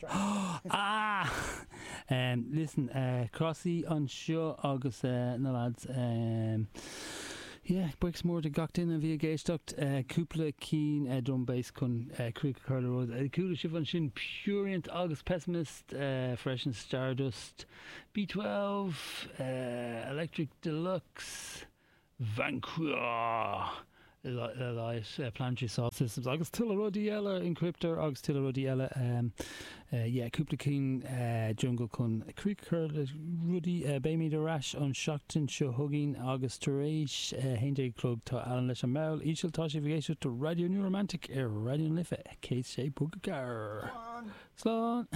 Ah! Listen, Crossy anseo agus na lads. Yeah, buíochas mór do gach duine a bhí ag éisteacht. Cúpla cinn drum bass chun críoch a chur le rud. Chuala sibh ansin Purient agus Pessimist freisin, Stardust, B12, Electric Deluxe. Vanqua le Planetary Soil Systems agus tuilleadh rudaí eile, Encryptor agus tuilleadh rudaí eile. Yeah, cúpla cinn jungle chun críoch a chur le rudaí. Beimid ar ais an seachtain seo chugainn agus tar éis 11 a chlog tá Alan leis an mball íseal. Tá sibh ag éisteacht do Raidió New Romantic ar Raidió na Life 106.4. Slán!